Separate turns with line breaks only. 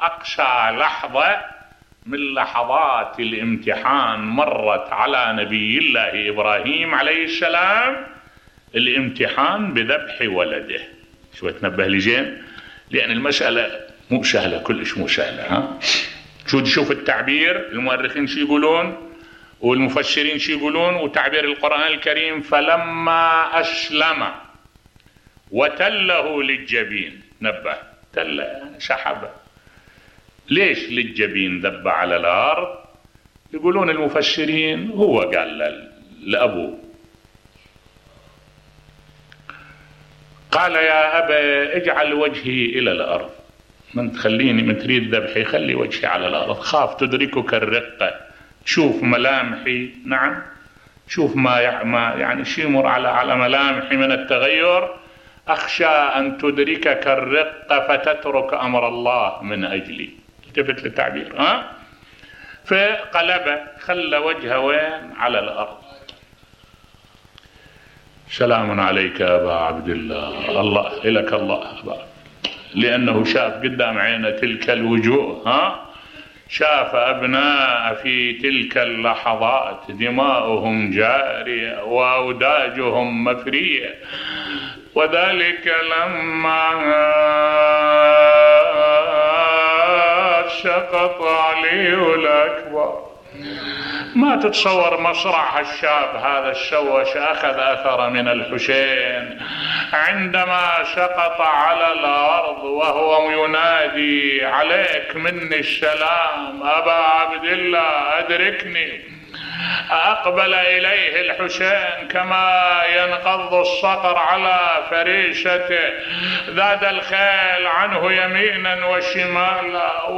أقشى لحظة من لحظات الامتحان مرت على نبي الله إبراهيم عليه السلام الامتحان بذبح ولده. شو تنبه لجين، لأن المسألة مو سهلة، كلش مو سهلة. شوف التعبير، المؤرخين شو يقولون والمفسرين شو يقولون، وتعبير القرآن الكريم: فلما أسلم وتله للجبين. نبه، تله سحبه. ليش للجبين ذب على الأرض؟ يقولون المفسرين هو قال لأبوه، قال يا أبا اجعل وجهي إلى الأرض، من تخليني، من تريد ذبحي خلي وجهي على الأرض، خاف تدركك الرقة، شوف ملامحي، نعم شوف ما يعني شي يمر على ملامحي من التغير، أخشى أن تدركك الرقة فتترك أمر الله من أجلي. التفت للتعبير. فقلبه، خلى وجهه وين؟ على الأرض. سلام عليك يا أبا عبد الله، الله إلك الله أبا، لأنه شاف قدام عينه تلك الوجوه، شاف أبناء في تلك اللحظات دماؤهم جارية وأوداجهم مفرية، وذلك لما سقط علي الأكبر. ما تتصور مصرع الشاب هذا الشوش أخذ أثر من الحسين عندما سقط على الأرض وهو ينادي عليك مني السلام أبا عبد الله أدركني. أقبل إليه الحسين كما ينقض الصقر على فريسته، ذاد الخيل عنه يمينا وشمالا.